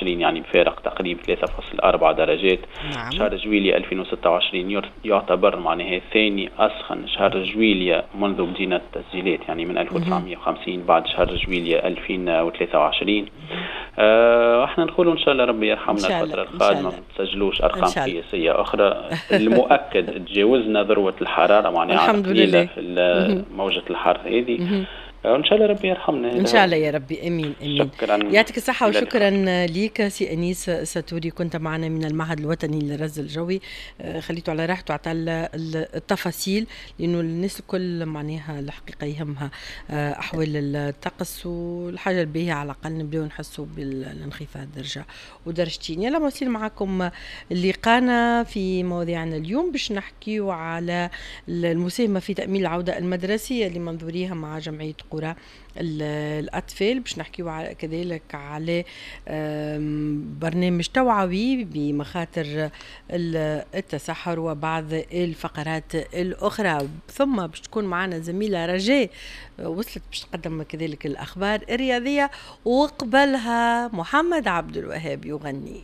2024، يعني بفارق تقريبا 3.4 درجات. شهر جويلية 2026 يعتبر معناها ثاني أسخن شهر جويلية منذ بدينا التسجيلات، يعني من 1950 بعد شهر جويلية 2023. احنا نقولوا ان شاء الله ربي يرحمنا الفترة القادمة، ما تسجلوش ارقام قياسية اخرى. المؤكد تجاوزنا ذروة الحرارة، معناها الحمد لله في موجة الحر هذه. ان شاء الله ربي يرحمنا. ان شاء الله يا ربي، امين امين. شكرا، يعطيك الصحة وشكرا ليك سي انيس ساتوري، كنت معنا من المعهد الوطني للرصد الجوي. خليته على راحته، عطى التفاصيل، لانه الناس الكل معناها الحقيقة يهمها احوال الطقس، والحاجة الباهيه على الاقل نبداو نحسوا بالانخفاض درجه ودرجتين. يلا مواصلين معكم لقانا في مواضيعنا اليوم، باش نحكيو على المساهمة في تامين العودة المدرسية لمنظوريها مع جمعية قرى الأطفال، باش نحكيو كذلك على برنامج توعوي بمخاطر التصحر وبعض الفقرات الأخرى. ثم باش تكون معنا زميلة رجاء وصلت باش تقدم كذلك الأخبار الرياضية، وقبلها محمد عبد الوهاب يغني.